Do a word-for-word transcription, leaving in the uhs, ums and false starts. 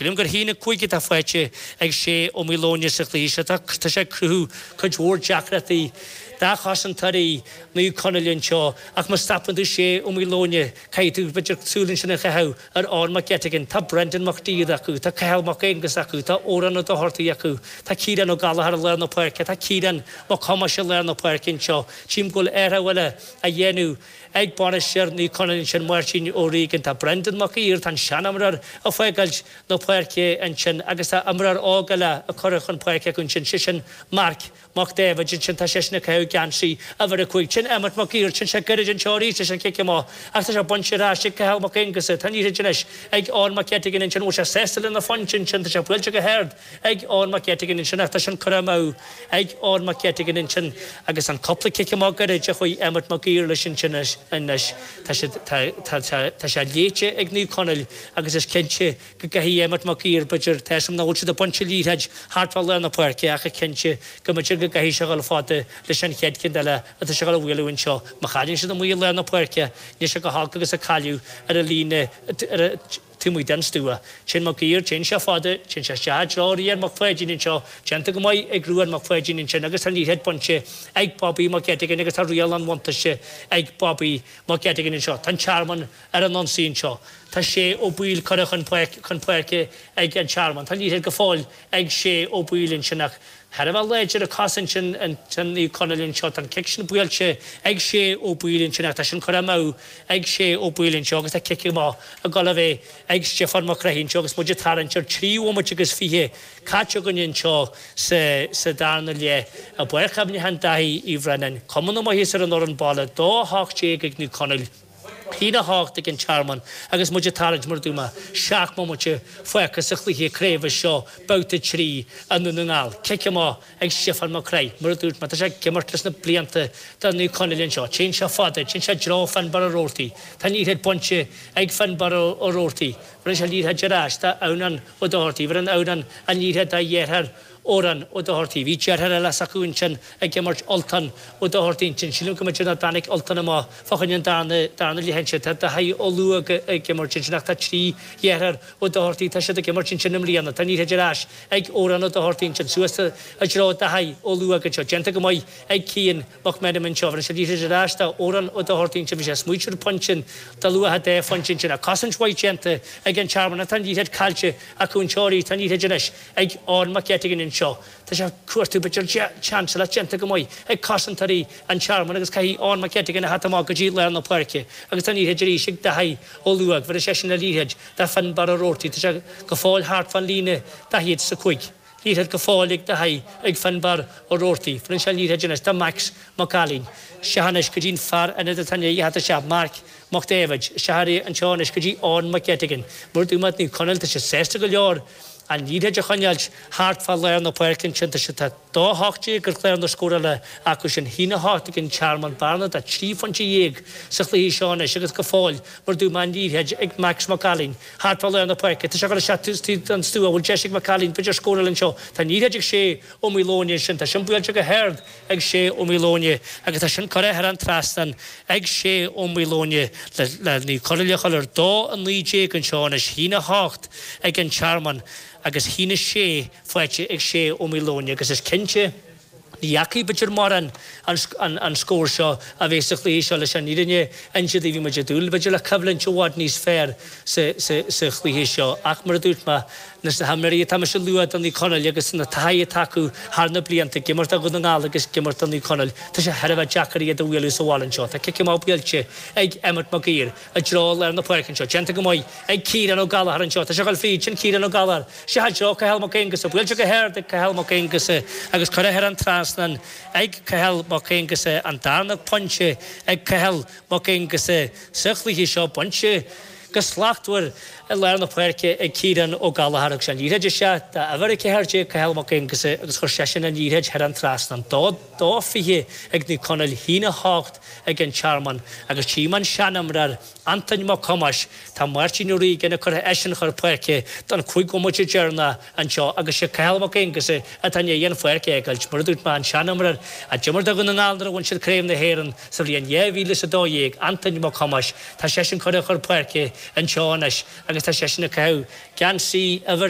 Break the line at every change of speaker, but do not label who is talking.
Sílim gur haon a cúig atá faighte ag Shea Ó Maoileoin sa chluiche seo. Tá sé ag cruthú cuid mhór deacrachtaí do chosantóirí Naomh Conaill anseo ach má stopann tú Shea Ó Maoileoin caithfidh tú b'fhéidir súil ansin a chaitheamh ar Eoin Mac Gettigan. Tá Brendan Mac Díad acu, tá Cathal Mac Aonghus acu, tá Odhrán Ó Dochartaigh acu, tá Ciarán Ó Gallchóir i lár na páirce, tá Ciarán Mac Thomáis i lár na páirce anseo. Tchím go bhfuil athrú eile á dhéanamh ag bainisteoir Naomh Conaill ansin Máirtín Ó Riagáin. Tá Brendan Mac Uidhir, tá an seanimreoir ag fágáilt na páirce ansin agus tá imreoir óg eile á chur chun páirce acu ansin, sé sin Marc Mac David ansin tá seisean ag caitheamh geansaí uimhir a cúig. Sin Emmet Mac Uidhir, sin sé gairid anseo arís leis an chic amach ach tá sé bainte ar ais ag Cathal Mac Aonghusa. Tá an liathróid anois ag Eoin Mac Gettigan ansin, bhfuil sé sásta lena phointe ansin, tá sé buailte go hard ag Eoin Mac Gettigan ansin ach tá sin curtha amú ag Eoin Mac Gettigan ansin agus an cúpla cic amach gairid a chuaigh Emmet Mac Uidhir leis ansin anois tá sé tá sé léite ag Naomh Conaill agus is cinnte go gcaithfidh Emmet Mac Uidhir b'fhéidir tá nach bhfuil siad ag baint liathróid thart fá lár na páirce ach cinnte go mb'fhéidir go gcaithfidh sé dul fada leis an chéad cheann eile atá sé ag bualadh anseo. Má chailleann siad amuigh i lár na páirce níl sé go holc agus a cailleadh ar an líne ar taobh amuigh den stua. Sin Mac Uidhir, téann sé fada, téann sé isteach i dtreo Rian Mac Pháidín anseo, déanta go maith ag Ruan Mac Pháidín ansin agus tá an liathróid bainte ag Bobby Mac Gettigan agus tá riail an bhuntáiste ag Bobby Mac Gettigan anseo. Tá an Tearmann ar an ionsaí anseo. Tá Shea Ó Baoill curtha chun chun páirce ag an Tearmann. Tá liathróid go fóill ag Shea Ó Baoill ansin ach thar a bheith láidir a cosaint sin an Naomh Conaill anseo. Tá an cic sin buailte ag Shea Ó Baoill ansin ach tá sin curtha amú ag Shea Ó Baoill anseo agus tá cic amach ag dul a bheith ag Stiofán Mac Craith anseo agus muid ag tarraingt ar trí bhomaite agus fiche caite againn anseo sa sa darna leath i bPáirc Chuimhneacháin Daithí Uí Bhraonáin. Cuma na maitheas ar an fhoireann baile dó hocht déag ag Naomh Conaill. Haon a hocht ag an Tearmann agus muid ag tarraingt mar a dúirt mé seacht mbomaite fágtha sa chluiche craoibhe seo babhta trí i nDún na nGall. Cic amach ag Stiofán Mac Craith mar a dúirt mé tá sé ag imirt leis na blianta do Naomh Conaill anseo. Téann sé fada, téann sé i dtreo Finbar Ó Roarty. Tá an liathróid bainte ag Finbar Ó Roarty. Bheireann sé liathróid ar ais do Adhamhnán Ó Dochartaigh, bheireann Adhamhnán an liathróid dá dheartháir Odhrán Ó Dochartaigh. Bhí deartháir eile s'acu ansin ag imirt Ultan Ó Dochartaigh ansin. Sílim go mb'fhéidir nach dtáinig Ultan amach fá choinne an darna darna leath ansin. Tá Daithí Ó Luaig ag imirt ansin ach tá trí dheartháir Ó Dochartaigh tá siad ag imirt ansin i mbliana. Tá an liathróid ar ais ag Odhrán Ó Dochartaigh ansin suas i dtreo Daithí Ó Luaig anseo. Déanta go maith ag Cian Mac Meanman anseo. Bheireann sé liathróid ar ais do Odhrán Ó Dochartaigh ansin. Bhí sé smaointe ar phointe de luach dá phointe ansin. Cosaint mhaith déanta ag an Tearmann. Tá an liathróid caillte acu anseo arís. Tá an liathróid anois ag Eoin Mac Gettigan anseo. Tá sé cuartú b'fhéidir seans le déanta go maith ag cosantóirí an Tearmann agus caithfidh Eoin Mac Gettigan a theacht amach go dtí lár na páirce agus tá an liathróid arís ag Daithí Ó Luaig. Bheireann seisean an liathróid do Finbar Ó Roarty. Tá sé go fóill thart fan líne daichead is a cúig. Liathróid go fóill ag Daithí ag Finbar Ó Roarty. Bheireann sé an liathróid anois do Max Mac Ailín. Isteach anois go dtí an fear ionaid atá i ndiaidh theacht isteach Marc Mac David. Isteach anseo anois go dtí Eoin Mac Gettigan. Mar dúirt mé Naomh Conaill tá sé sásta go leor an liathróid a choinneáilt thart fá lár na páirce ansin tá sé tá dó hocht déag ar chlár na scórála acu sin haon a hocht ag an Tearmann bearna de trí phointe dhéag sa chluiche seo anois agus go fóill mar dúirt mé an liathróid ag Max Mac Ailín thart fá lár na páirce tá sé ag dul isteach an stua bhfuil deis ag Mac Ailín b'fhéidir scóráil anseo tá an liathróid ag Shea Ó Maoileoin sin tá sin buailte go hard ag Shea Ó Maoileoin agus tá sin curtha thar an trasnán ag Shea Ó Maoileoin le le Naomh Conaill a chur ar dó a naoi déag anseo anois haon a hocht ag an Tearmann agus haon a sé faighte ag Shea Ó Maoileoin agus is cinnte ní dheachaigh b'fhéidir mórán an, an scór seo a bheith sa chluiche seo leis an fhírinne inse bhí muid ag dúil b'fhéidir le coimhlint i bhfad níos fearr sa, sa, sa chluiche seo ach mar a dúirt mé na na himreoirí atá mise a lua do Naomh Conaill agus na taithí atá acu thar na blianta ag imirt do Dhún na nGall agus ag imirt do Naomh Conaill Tá sé thar a bheith deacair iad a bhualadh sa bhaile anseo. Tá cic amach buailte ag Emmet Mac Uidhir i dtreo lár na páirce anseo. Déanta go maith ag Ciarán Ó Gallchóir anseo. Tá sé ag dul fríd sin Ciarán Ó Gallchóir. Sé i dtreo Cathal Mac Aonghusa, buailte go hard ag Cathal Mac Aonghusa agus curtha thar an trasnán ag Cathal Mac Aonghusa an darna pointe ag Cathal Mac Aonghusa sa chluiche seo bainte go slachtmhar i lár na páirce ag Ciarán Ó Gallchóir agus an liathróid isteach dá uimhir a ceathair déag Cathal Mac Aonghusa agus chuir seisean an liathróid thar an trasnán. Dó dó fiche ag Naomh Conaill haon a hocht ag an Tearmann agus tchím an seanimreoir Antain Mac Thomáis tá Máirtín Ó Riagáin curtha eisean chun páirce don chúig bhomaite deireanach anseo agus sé Cathal Mac Aonghusa atá i ndiaidh an pháirc a fhágáilt mar a dúirt mé an seanimreoir a d'imir do Dhún na nGall nuair a bhain siad Craobh na hÉireann sa bhliain dhá mhíle is a dó dhéag Antain Mac Thomáis tá seisean curtha chun páirce anseo anois agus tá seisean ag caitheamh geansaí uimhir